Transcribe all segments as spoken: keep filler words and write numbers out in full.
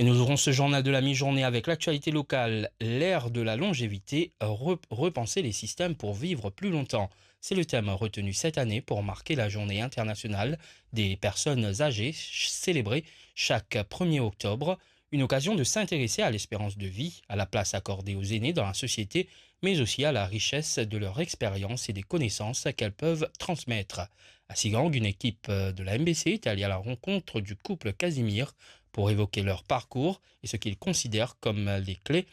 Et nous ouvrons ce journal de la mi-journée avec l'actualité locale. L'ère de la longévité, re-, repenser les systèmes pour vivre plus longtemps. C'est le thème retenu cette année pour marquer la journée internationale des personnes âgées, ch-, célébrée chaque premier octobre. Une occasion de s'intéresser à l'espérance de vie, à la place accordée aux aînés dans la société, mais aussi à la richesse de leur expérience et des connaissances qu'elles peuvent transmettre. À Sigang, une équipe de la M B C est allée à la rencontre du couple Casimir pour évoquer leur parcours et ce qu'ils considèrent comme les clés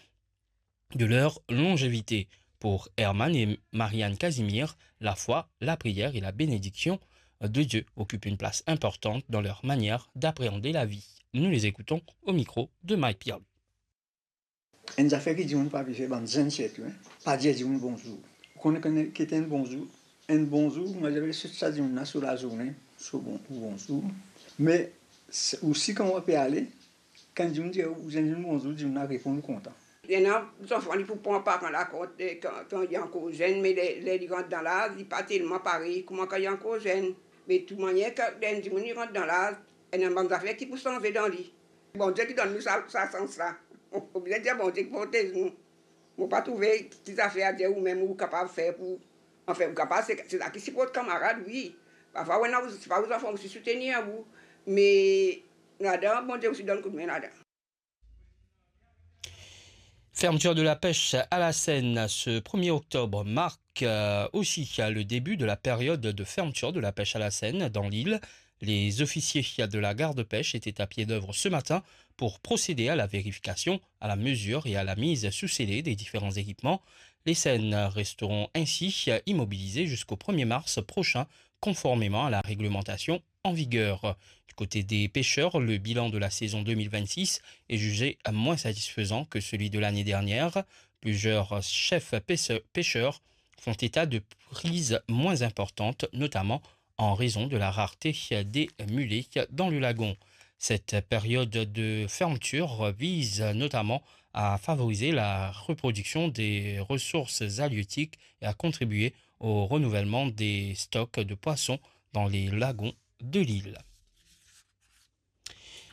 de leur longévité. Pour Herman et Marianne Casimir, la foi, la prière et la bénédiction de Dieu occupent une place importante dans leur manière d'appréhender la vie. Nous les écoutons au micro de Mike Pierre. Enn zafer ki dimoun pa pe fer, bann zenn sirtou, en, pa dir dimoun bonzour. Ou konn ki ete enn bonzour? Enn bonzour, mo dir, se sa dimoun la so lazourne, so bon, ou bonzour. Me se, osi kan ou pe ale, kan dimoun dir ou, dir dimoun bonzour, dimoun la reponn ou kontan. Ena zanfan, li pou pran paran la kont, eh, kan, kan li ankor zenn, me ler, ler li rant dan laz, li pa telman parey kouma kan li ankor zenn. Me tou manier, kan enn dimoun li rant dan laz, ena bann zafer ki pou sanze dan li. Bondie ki donn nou sa, sa sans la. Oblize dir Bondie ki protez nou. Mo pa trouve ki zafer a dir ou mem ou kapav fer pou, anfin, ou kapav, se, se sa ki siport kamarad, wi. Parfwa, ou ena, se pa ou zanfan osi soutenir ou, me ladan, Bondie osi donn koudme ladan. Fermeture de la pêche à la Seine ce premier octobre marque, euh, aussi le début de la période de fermeture de la pêche à la Seine dans l'île. Les officiers de la garde-pêche étaient à pied d'œuvre ce matin pour procéder à la vérification, à la mesure et à la mise sous scellés des différents équipements. Les seines resteront ainsi immobilisées jusqu'au premier mars prochain, conformément à la réglementation en vigueur. Du côté des pêcheurs, le bilan de la saison deux mille vingt-six est jugé moins satisfaisant que celui de l'année dernière. Plusieurs chefs pêche-, pêcheurs font état de prises moins importantes, notamment en raison de la rareté des mulets dans le lagon. Cette période de fermeture vise notamment à favoriser la reproduction des ressources halieutiques et à contribuer au renouvellement des stocks de poissons dans les lagons de l'île.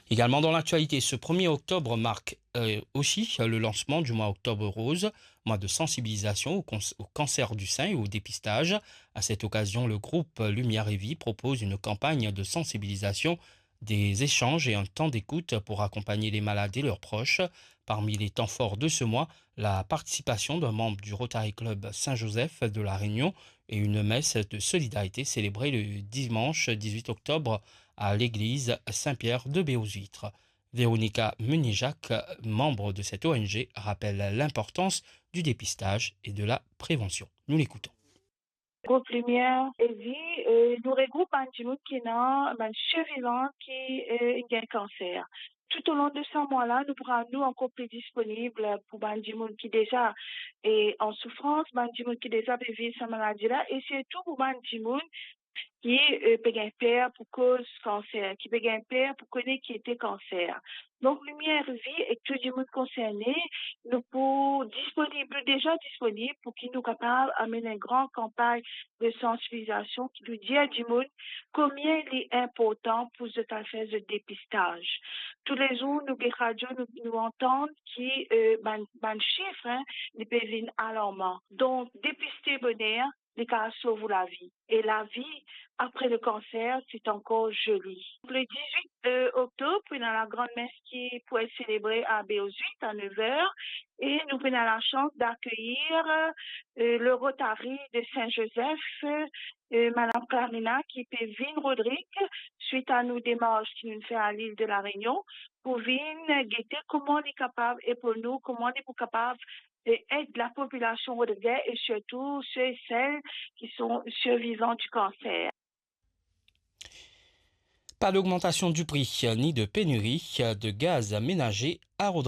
Également dans l'actualité, ce premier octobre marque, euh, aussi le lancement du mois Octobre Rose, mois de sensibilisation au cons-, au cancer du sein et au dépistage. À cette occasion, le groupe Lumière et Vie propose une campagne de sensibilisation, des échanges et un temps d'écoute pour accompagner les malades et leurs proches. Parmi les temps forts de ce mois, la participation d'un membre du Rotary Club Saint-Joseph de La Réunion et une messe de solidarité célébrée le dimanche dix-huit octobre à l'église Saint-Pierre de Béaux-Huîtres. Véronica Meunier-Jacques, membre de cette O N G, rappelle l'importance du dépistage et de la prévention. Nous l'écoutons. Group Limier e Vi, euh, nou regroup bann dimoun ki ena bann sirvivan ki, euh, inn gagn kanser. Toutolong de sa mwa la, nou pou rann nou ankor pli disponib pou bann dimoun ki deza, e, an soufrans, bann dimoun ki deza pe viv sa maladi la, e sirtou pou bann dimoun ki, euh, pe gagn per pou koz kanser, ki pe gagn per pou kone ki ete kanser. Donk, Limier e Vi ek tou dimoun konserne, nou pou disponib, nou deza disponib pou ki nou kapav amenn enn gran kanpagn de sansibilizasion ki nou dir dimoun konbien li inportan pou zot al fer zot depistaz. Toulezour, nou get radio, nou, nou antann ki, euh, bann, bann sif, en, li pe vinn alarman. Donk, depiste boner, li kapav sov ou lavi. E lavi apre le kanser, se ankor zoli. Le dix-huit, euh, octobre, pou ena lagrann mes ki pou et selebre a Béaux-Huîtres a nev er, e nou pou ena lasans d'akeyir, euh, le Rotary de Saint-Joseph, euh, Madam Clarina, ki pe vinn Rodrig, swit a nou demars ki nou fer a Lil de La Réunion, pou vinn gete kouma li kapav epol nou, kouma li pou kapav e ed lapopilasion rodrigez e sirtou se e sel ki son sirvivan di kanser. Pas d'augmentation du prix ni de pénurie de gaz ménager à Rodrigues.